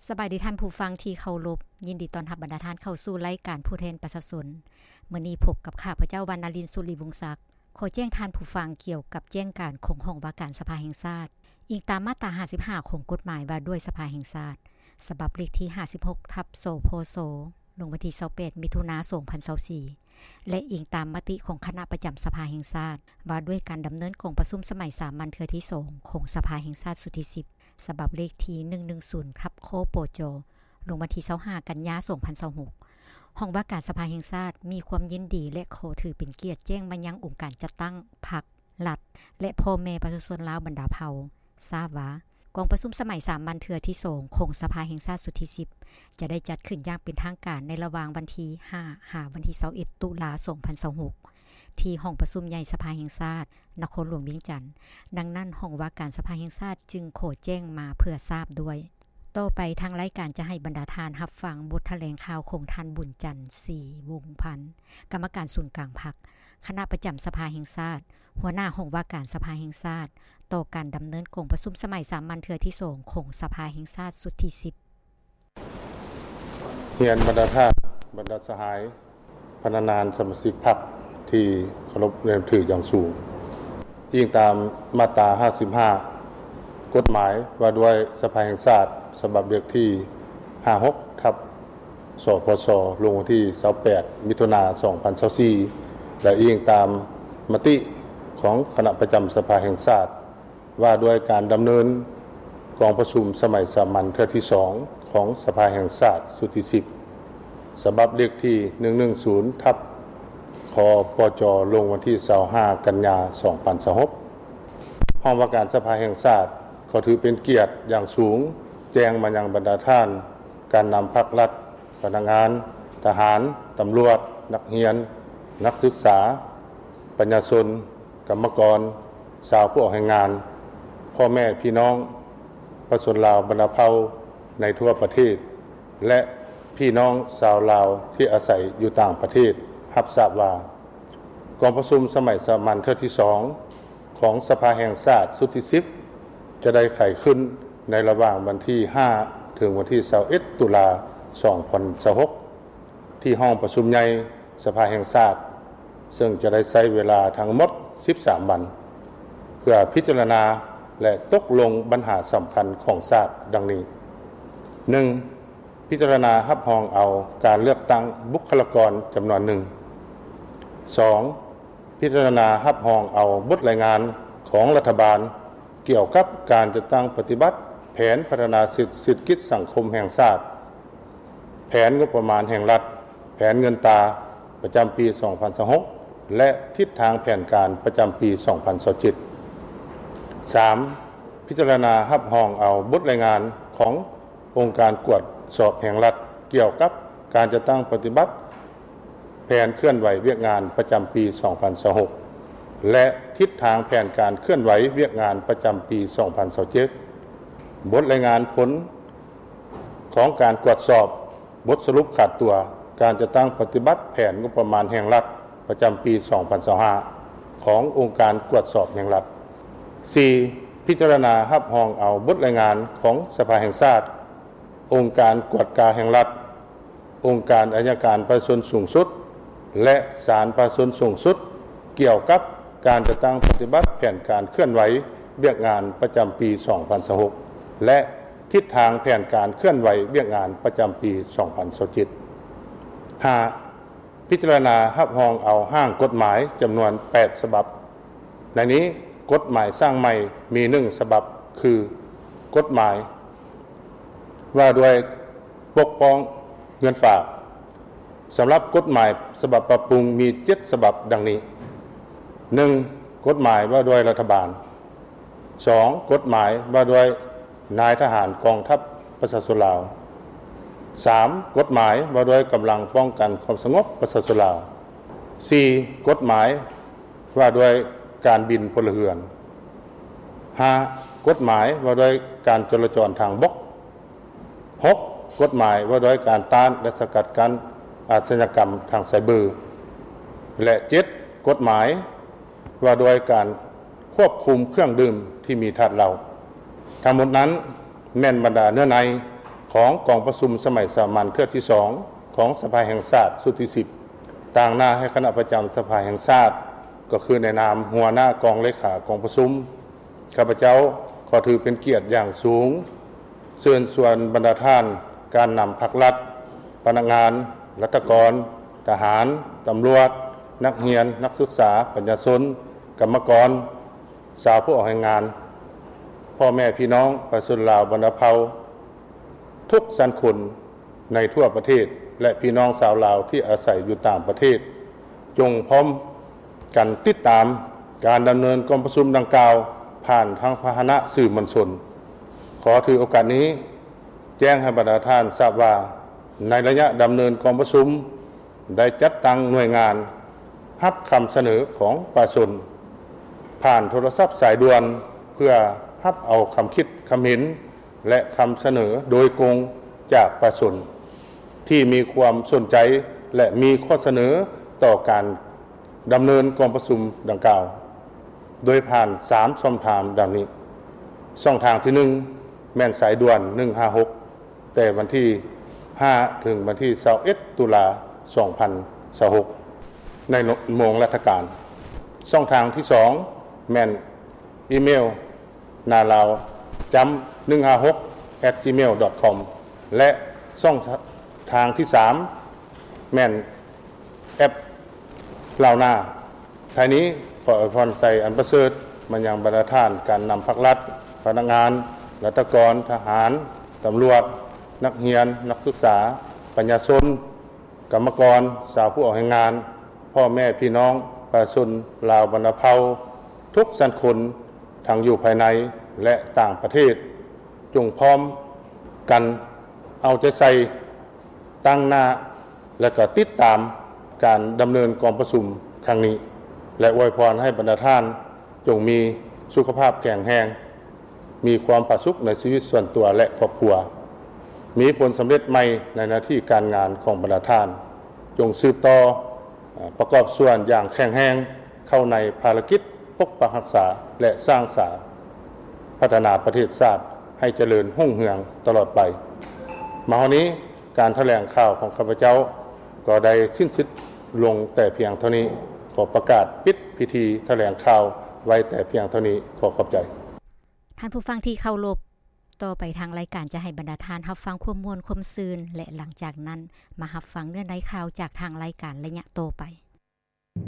ສະບາຍດີທ່ານຜູ້ຟັງທີ່ເຄົາລົບ, ຍິນດີຕ້ອນຮັບບັນດາທ່ານເຂົ້າສູ່ລາຍການຜູ້ແທນປະຊາຊົນ. ມື້ນີ້ພົບກັບຂ້າພະເຈົ້າ ວັນນະລິນ ສຸລິວົງສັກ. ຂໍແຈ້ງທ່ານຜູ້ຟັງກ່ຽວກັບແຈ້ງການຂອງຫ້ອງວ່າການສະພາແຫ່ງຊາດ, ອີງຕາມມາດຕາຫ້າສິບຫ້າຂອງກົດໝາຍວ່າດ້ວຍສະພາແຫ່ງຊາດ ສະບັບເລກທີຫ້າສິບຫົກ ທັບ ສພສ ລົງວັນທີຊາວແປດ ມິຖຸນາ ສອງພັນຊາວສີ່ ແລະ ອີງຕາມມະຕິຂອງຄະນະປະຈຳສະພາແຫ່ງຊາດ ວ່າດ້ວຍການດຳເນີນກອງປະຊຸມສະໄໝສາມັນເທື່ອທີສອງຂອງສະພາແຫ່ງຊາດຊຸດທີສິບ ສະບັບເລກທີໜຶ່ງໜຶ່ງສູນ ທັບ ຄປຈ ລົງວັນທີຊາວຫ້າ ກັນຍາ ສອງພັນຊາວຫົກ. ຫ້ອງວ່າການສະພາແຫ່ງຊາດມີຄວາມຍິນດີ ແລະ ຂໍຖືເປັນກຽດແຈ້ງມາຍັງອົງການຈັດຕັ້ງພັກ, ລັດ ແລະ ພໍ່ແມ່ປະຊາຊົນລາວບັນດາເຜົ່າ ຊາບວ່າ ກອງປະຊຸມສະໄໝສາມັນເທື່ອທີສອງຂອງສະພາແຫ່ງຊາດຊຸດທີສິບ ຈະໄດ້ຈັດຂຶ້ນຢ່າງເປັນທາງການໃນລະຫວ່າງວັນທີຫ້າ ຫາວັນທີຊາວເອັດ ຕຸລາ ສອງພັນຊາວຫົກ ທີ່ຫ້ອງປະຊຸມໃຫຍ່ສະພາແຫ່ງຊາດ ນະຄອນຫຼວງວຽງຈັນ. ດັ່ງນັ້ນ ຫ້ອງວ່າການສະພາແຫ່ງຊາດຈຶ່ງຂໍແຈ້ງມາເພື່ອຊາບດ້ວຍ. ຕໍ່ໄປທາງລາຍການຈະໃຫ້ບັນດາທ່ານຮັບຟັງບົດຖະແຫຼງຂ່າວຂອງທ່ານ ບຸນຈັນ ສີວົງພັນ, ກຳມະການສູນກາງພັກ, ຄະນະປະຈຳສະພາແຫ່ງຊາດ, ຫົວໜ້າຫ້ອງວ່າການສະພາແຫ່ງຊາດ ຕໍ່ການດຳເນີນກອງປະຊຸມສະໄໝສາມັນເທື່ອທີສອງຂອງສະພາແຫ່ງຊາດຊຸດທີສິບ. ຮຽນບັນດາທ່ານ, ບັນດາສະຫາຍ, ພະນັກງານສະມາຊິກພັກທີ່ເຄົາລົບນັບຖືຢ່າງສູງ. ອີງຕາມມາດຕາຫ້າສິບຫ້າ ກົດໝາຍວ່າດ້ວຍສະພາແຫ່ງຊາດ ສະບັບເລກທີຫ້າສິບຫົກ ທັບ ສພສ ລົງວັນທີຊາວແປດ ມິຖຸນາ ສອງພັນຊາວສີ່ ແລະ ອີງຕາມມະຕິຂອງຄະນະປະຈຳສະພາແຫ່ງຊາດ ວ່າດ້ວຍການດຳເນີນກອງປະຊຸມສະໄໝສາມັນເທື່ອທີສອງຂອງສະພາແຫ່ງຊາດຊຸດທີສິບ ສະບັບເລກທີໜຶ່ງໜຶ່ງສູນ ທັບ ຄປຈ ລົງວັນທີຊາວຫ້າ ກັນຍາ ສອງພັນຊາວຫົກ. ຫ້ອງວ່າການສະພາແຫ່ງຊາດຂໍຖືເປັນກຽດຢ່າງສູງ ແຈ້ງມາຍັງບັນດາທ່ານ ການນຳພັກລັດ, ພະນັກງານ, ທະຫານ, ຕຳຫຼວດ, ນັກຮຽນ, ນັກສຶກສາ, ປະຊາຊົນ, ກຳມະກອນ, ຊາວຜູ້ອອກແຮງງານ, ພໍ່ແມ່ພີ່ນ້ອງປະຊາຊົນລາວບັນດາເຜົ່າໃນທົ່ວປະເທດ ແລະ ພີ່ນ້ອງຊາວລາວທີ່ອາໄສຢູ່ຕ່າງປະເທດ ຮັບຊາບວ່າ ກອງປະຊຸມສະໄໝສາມັນເທື່ອທີສອງຂອງສະພາແຫ່ງຊາດຊຸດທີສິບ ຈະໄດ້ໄຂຂຶ້ນໃນລະຫວ່າງວັນທີຫ້າ ເຖິງວັນທີຊາວເອັດ ຕຸລາ ສອງພັນຊາວຫົກ ທີ່ຫ້ອງປະຊຸມໃຫຍ່ສະພາແຫ່ງຊາດ, ເຊິ່ງຈະໄດ້ໃຊ້ເວລາທັງໝົດສິບສາມວັນ ເພື່ອພິຈາລະນາ ແລະ ຕົກລົງບັນຫາສຳຄັນຂອງຊາດ ດັ່ງນີ້: ໜຶ່ງ, ພິຈາລະນາຮັບຮອງເອົາການເລືອກຕັ້ງບຸກຄະລາກອນຈຳນວນໜຶ່ງ. ສອງ, ພິຈາລະນາຮັບຮອງເອົາບົດລາຍງານຂອງລັດຖະບານ ກ່ຽວກັບການຈັດຕັ້ງປະຕິບັດແຜນພັດທະນາເສດຖະກິດສັງຄົມແຫ່ງຊາດ, ແຜນງົບປະມານແຫ່ງລັດ, ແຜນເງິນຕາປະຈຳປີສອງພັນຊາວຫົກ ແລະ ທິດທາງແຜນການປະຈຳປີສອງພັນຊາວເຈັດ. ສາມ, ພິຈາລະນາຮັບຮອງເອົາບົດລາຍງານຂອງອົງການກວດສອບແຫ່ງລັດ ກ່ຽວກັບການຈັດຕັ້ງປະຕິບັດ ແຜນເຄື່ອນໄຫວວຽກງານປະຈຳປີສອງພັນຊາວຫົກ ແລະ ທິດທາງແຜນການເຄື່ອນໄຫວວຽກງານປະຈຳປີສອງພັນຊາວເຈັດ, ບົດລາຍງານຜົນຂອງການກວດສອບ, ບົດສະຫຼຸບຂາດຕົວ, ການຈັດຕັ້ງປະຕິບັດແຜນງົບປະມານແຫ່ງລັດປະຈຳປີສອງພັນຊາວຫ້າ ຂອງອົງການກວດສອບແຫ່ງລັດ. ສີ່, ພິຈາລະນາຮັບຮອງເອົາບົດລາຍງານຂອງສະພາແຫ່ງຊາດ, ອົງການກວດກາແຫ່ງລັດ, ອົງການໄອຍະການປະຊາຊົນສູງສຸດ ແລະ ສານປະຊາຊົນສູງສຸດ ກ່ຽວກັບການຈັດຕັ້ງປະຕິບັດແຜນການເຄື່ອນໄຫວວຽກງານປະຈຳປີສອງພັນຊາວຫົກ ແລະ ທິດທາງແຜນການເຄື່ອນໄຫວວຽກງານປະຈຳປີສອງພັນຊາວເຈັດ. ຫ້າ, ພິຈາລະນາຮັບຮອງເອົາຮ່າງກົດໝາຍຈຳນວນແປດສະບັບ. ໃນນີ້, ກົດໝາຍສ້າງໃໝ່ມີໜຶ່ງສະບັບ ຄື ກົດໝາຍວ່າດ້ວຍປົກປ້ອງເງິນຝາກ. ສຳລັບກົດໝາຍສະບັບປັບປຸງມີເຈັດສະບັບ ດັ່ງນີ້: ໜຶ່ງ, ກົດໝາຍວ່າດ້ວຍລັດຖະບານ. ສອງ, ກົດໝາຍວ່າດ້ວຍນາຍທະຫານກອງທັບປະຊາຊົນລາວ. ສາມ, ກົດໝາຍວ່າດ້ວຍກຳລັງປ້ອງກັນຄວາມສະຫງົບປະຊາຊົນລາວ. ສີ່, ກົດໝາຍວ່າດ້ວຍການບິນພົນລະເຮືອນ. ຫ້າ, ກົດໝາຍວ່າດ້ວຍການຈະລາຈອນທາງບົກ. ຫົກ, ກົດໝາຍວ່າດ້ວຍການຕ້ານ ແລະ ສະກັດກັ້ນອາຊະຍາກຳທາງໄຊເບີ. ແລະ ເຈັດ, ກົດໝາຍວ່າດ້ວຍການຄວບຄຸມເຄື່ອງດື່ມທີ່ມີທາດເຫຼົ້າ. ທັງໝົດນັ້ນແມ່ນບັນດາເນື້ອໃນ ຂອງກອງປະຊຸມສະໄໝສາມັນເທື່ອທີສອງຂອງສະພາແຫ່ງຊາດຊຸດທີສິບ ຕາງໜ້າໃຫ້ຄະນະປະຈຳສະພາແຫ່ງຊາດ ກໍຄືໃນນາມຫົວໜ້າກອງເລຂາກອງປະຊຸມ, ຂ້າພະເຈົ້າຂໍຖືເປັນກຽດຢ່າງສູງ ເຊີນຊວນບັນດາທ່ານການນຳພັກລັດ, ພະນັກງານ, ລັດຖະກອນ, ທະຫານ, ຕຳຫຼວດ, ນັກຮຽນ, ນັກສຶກສາ, ປະຊາຊົນ, ກຳມະກອນ, ຊາວຜູ້ອອກແຮງງານ, ພໍ່ແມ່ພີ່ນ້ອງປະຊາຊົນລາວບັນດາເຜົ່າທຸກຊັ້ນຄົນໃນທົ່ວປະເທດ ແລະ ພີ່ນ້ອງຊາວລາວທີ່ອາໄສຢູ່ຕ່າງປະເທດ, ຈົ່ງພ້ອມກັນຕິດຕາມການດຳເນີນກອງປະຊຸມດັ່ງກ່າວຜ່ານທາງພາຫະນະສື່ມວນຊົນ. ຂໍຖືໂອກາດນີ້ແຈ້ງໃຫ້ບັນດາທ່ານຊາບວ່າ, ໃນໄລຍະດຳເນີນກອງປະຊຸມ ໄດ້ຈັດຕັ້ງໜ່ວຍງານຮັບຄຳສະເໜີຂອງປະຊາຊົນ ຜ່ານໂທລະສັບສາຍດ່ວນ ເພື່ອຮັບເອົາຄຳຄິດຄຳເຫັນ ແລະ ຄຳສະເໜີໂດຍກົງຈາກປະຊາຊົນທີ່ມີຄວາມສົນໃຈ ແລະ ມີຂໍ້ສະເໜີຕໍ່ການດຳເນີນກອງປະຊຸມດັ່ງກ່າວ ໂດຍຜ່ານສາມຊ່ອງທາງດັ່ງນີ້. ຊ່ອງທາງທີໜຶ່ງ ແມ່ນສາຍດ່ວນໜຶ່ງຫ້າຫົກ ແຕ່ວັນທີຫ້າ ເຖິງວັນທີຊາວເອັດ ຕຸລາ ສອງພັນຊາວຫົກ ໃນໂມງລັດຖະການ. ຊ່ອງທາງທີສອງ ແມ່ນອີເມວ ນາລາວ ຈ້ຳ ໜຶ່ງຫ້າຫົກ ແອັດຈີເມວ ດອດຄອມ ແລະ ຊ່ອງທາງທີສາມ ແມ່ນແອັບລາວນາ. ທ້າຍນີ້ ຂໍອວຍພອນໄຊອັນປະເສີດມາຍັງບັນດາທ່ານການນຳພັກລັດ, ພະນັກງານ, ລັດຖະກອນ, ທະຫານ, ຕຳຫຼວດ, ນັກຮຽນ, ນັກສຶກສາ, ປະຊາຊົນ, ກຳມະກອນ, ຊາວຜູ້ອອກແຮງງານ, ພໍ່ແມ່ພີ່ນ້ອງປະຊາຊົນລາວບັນດາເຜົ່າທຸກຊັ້ນຄົນ ທັງຢູ່ພາຍໃນ ແລະ ຕ່າງປະເທດ, ຈົ່ງພ້ອມກັນເອົາໃຈໃສ່, ຕັ້ງໜ້າ ແລະ ກໍຕິດຕາມການດຳເນີນກອງປະຊຸມຄັ້ງນີ້ ແລະ ອວຍພອນໃຫ້ບັນດາທ່ານຈົ່ງມີສຸຂະພາບແຂງແຮງ, ມີຄວາມຜາສຸກໃນຊີວິດສ່ວນຕົວ ແລະ ຄອບຄົວ, ມີຜົນສຳເລັດໃໝ່ໃນໜ້າທີ່ການງານຂອງບັນດາທ່ານ, ຈົ່ງສືບຕໍ່ ເອີ່ ປະກອບສ່ວນຢ່າງແຂງແຮງເຂົ້າໃນພາລະກິດປົກປັກຮັກສາ ແລະ ສ້າງສາພັດທະນາປະເທດຊາດໃຫ້ຈະເລີນຮຸ່ງເຮືອງຕະຫຼອດໄປ. ມາຮອດນີ້ ການຖະແຫຼງຂ່າວຂອງຂ້າພະເຈົ້າກໍໄດ້ສິ້ນສຸດລົງແຕ່ພຽງເທົ່ານີ້. ຂໍປະກາດປິດພິທີຖະແຫຼງຂ່າວໄວ້ແຕ່ພຽງເທົ່ານີ້. ຂໍຂອບໃຈ. ທ່ານຜູ້ຟັງທີ່ເຄົາລົບ, ຕໍ່ໄປທາງລາຍການຈະໃຫ້ບັນດາທ່ານຮັບຟັງຄວາມມ່ວນຄວາມຊື່ນ ແລະ ຫຼັງຈາກນັ້ນມາຮັບຟັງເນື້ອໃນຂ່າວຈາກທາງລາຍການໄລຍະຕໍ່ໄປ.